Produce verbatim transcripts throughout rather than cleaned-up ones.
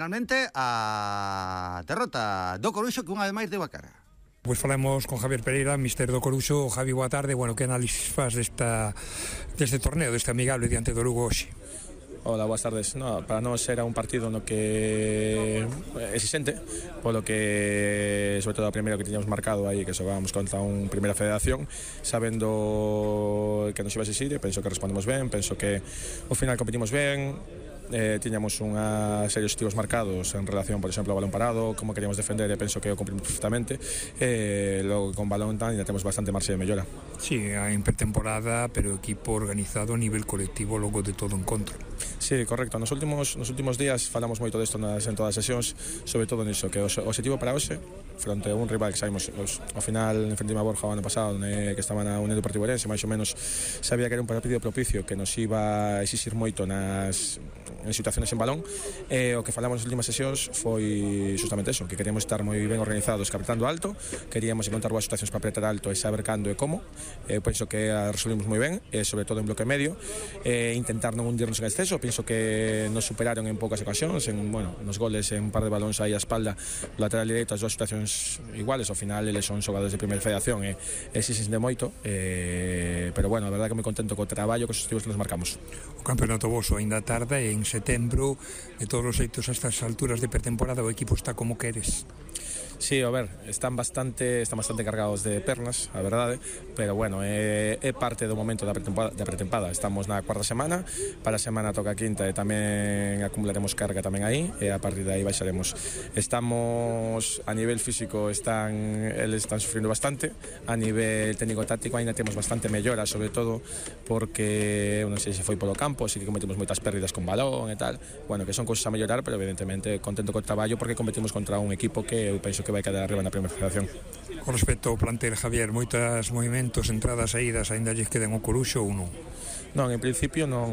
Finalmente, a derrota do Coruxo que unha vez máis deu a cara. Pois falamos con Javier Pereira, mister do Coruxo. Javi, boa tarde. Bueno, que análisis faz desta, deste torneo, deste amigable diante do Lugo hoxe? Hola, boas tardes. No, para nós era un partido no que exixente, polo que, sobre todo a primeira que tiñamos marcado aí, que xogábamos contra un primeira federación, sabendo que nos iba a exixir, penso que respondemos ben, penso que ao final competimos ben. Eh, tiñamos unha serie de objetivos marcados en relación, por exemplo, ao balón parado, como queríamos defender, e penso que o cumprimos perfectamente. Eh, logo con balón ainda temos bastante marxe de mellora. Sí, en pretemporada, pero equipo organizado a nivel colectivo logo de todo encontro. Sí, correcto. Nos últimos, nos últimos días falamos moito desto nas, en todas as sesións, sobre todo niso, que o objetivo para hoxe, fronte a un rival que sabemos, os, ao final, enfrentima a Borja o ano pasado, né, que estaba na Unión Deportiva Ourense, máis ou menos sabía que era un partido propicio que nos iba a exixir moito nas en situaciones en balón, e o que falamos nas últimas sesións foi justamente eso, que queríamos estar moi ben organizados, captando alto, queríamos encontrar boas situacións para apretar alto e saber cando e como. Eh, penso que a resolvimos moi ben, e sobre todo en bloque medio, e intentar non hundirnos en exceso. Penso que nos superaron en poucas ocasións, en, bueno, nos goles, en un par de balóns aí a espalda, lateral direito, as dúas situacións iguales. Ao final eles son xogadores de primeira federación e exixen de moito, eh, pero bueno, a verdade que moi contento co traballo, cos objetivos que nos marcamos. O campeonato voso ainda tarda, en setembro, de todos os xeitos a estas alturas de pretemporada o equipo está como queres. Sí, a ver, están bastante están bastante cargados de pernas, a verdade, pero bueno, é, é parte do momento da pretempada, da pretempada. Estamos na cuarta semana, para a semana toca a quinta e tamén acumularemos carga tamén aí, e a partir de aí baixaremos. Estamos a nivel físico, están eles están sufrindo bastante, a nivel técnico-táctico ainda temos bastante mellora, sobre todo porque non sei se foi polo campo, así que cometemos moitas pérdidas con balón e tal. Bueno, que son cousas a mellorar, pero evidentemente contento co traballo porque competimos contra un equipo que eu penso que vai quedar arriba na primeira federación. Con respecto ao plantel, Javier, moitas movimentos, entradas, saídas, ainda lles queden o Coruxo ou non? Non, en principio non,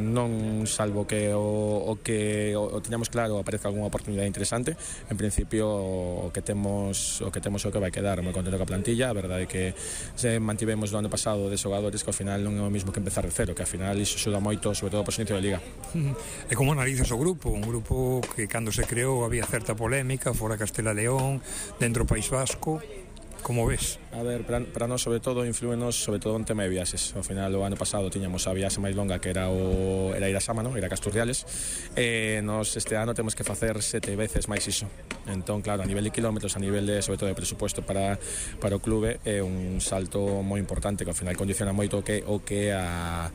non salvo que o, o que o, o teñamos claro aparezca algunha oportunidade interesante. En principio o que temos o que temos o que vai quedar moi contento coa plantilla. A verdade é que se mantivemos do ano pasado de xogadores que ao final non é o mesmo que empezar de cero, que ao final iso axuda moito, sobre todo por inicio de liga. E como analizas o grupo? Un grupo que cando se creou había certa polémica, fora Castela León, dentro do País Vasco. Como ves? A ver, para, para nós sobre todo influenos sobre todo en tema de viaxes. Ao final o ano pasado tiñamos a viaxe máis longa que era o era ir a Sámano, ir a Casturriales, e nos este ano temos que facer sete veces máis iso. Entón, claro, a nivel de kilómetros, a nivel de, sobre todo de presupuesto para, para o clube, é un salto moi importante que ao final condiciona moito o que o que a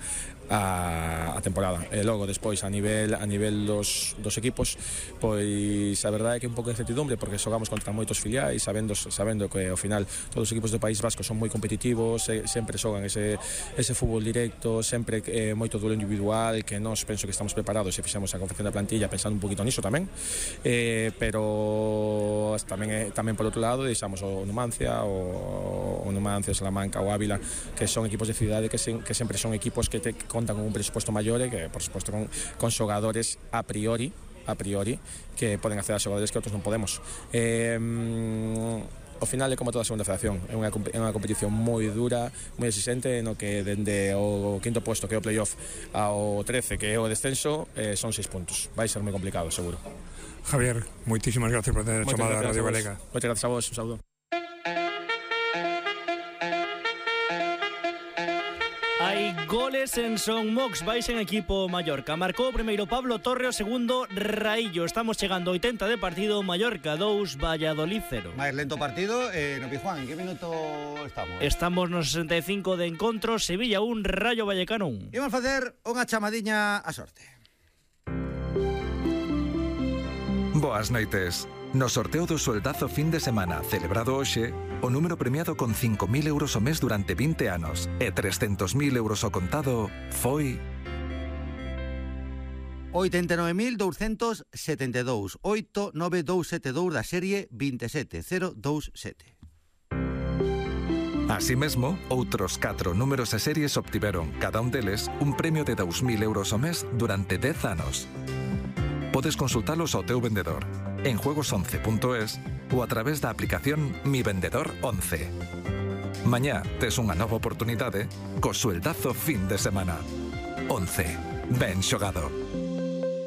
A, a temporada. E logo despois a nivel a nivel dos, dos equipos, pois a verdade é que é un pouco de incertidumbre porque xogamos contra moitos filiais, sabendo sabendo que ao final todos os equipos do País Vasco son moi competitivos, e, sempre xogan ese ese fútbol directo, sempre eh, moito duelo individual, que nós penso que estamos preparados e fixemos a confección da plantilla pensando un poquito niso tamén. Eh, pero tamén é, tamén por outro lado deixamos o Numancia, o, o Numancia, Salamanca, o Ávila, que son equipos de cidade que, se, que sempre son equipos que te contan con un presupuesto maior e que, por suposto, con, con xogadores a priori a priori que poden acceder a xogadores que outros non podemos. Eh, ao final é como toda a segunda federación, é unha, é unha competición moi dura, moi exigente, no que dende o quinto posto, que é o playoff, ao trece, que é o descenso, eh, son seis puntos. Vai ser moi complicado, seguro. Javier, moitísimas gracias por ter chamado a Radio Galega. Moitas gracias a vos, un saúdo. Hai goles en Son Mox, vais en equipo Mallorca. Marcou o primeiro Pablo Torre, o segundo Raillo. Estamos chegando a oitenta de partido, Mallorca dous, Valladolid cero. Máis lento partido, eh, no Pijuán, en que minuto estamos? Estamos no sesenta e cinco de encontro, Sevilla un, Rayo Vallecano un. Imos facer unha chamadiña a sorte. Boas noites. No sorteo do sueldazo fin de semana celebrado hoxe, o número premiado con cinco mil euros ao mes durante vinte anos e trescentos mil euros ao contado foi... oitenta e nove mil douscentos setenta e dous, oito nove dous sete dous da serie vinte e sete cero dous sete. Así mesmo, outros catro números e series obtiveron, cada un deles, un premio de dous mil euros ao mes durante dez anos. Podes consultalos ao teu vendedor, en juegos once punto es ou a través da aplicación Mi Vendedor once. Mañá tes unha nova oportunidade co sueldazo fin de semana. once. Ben xogado.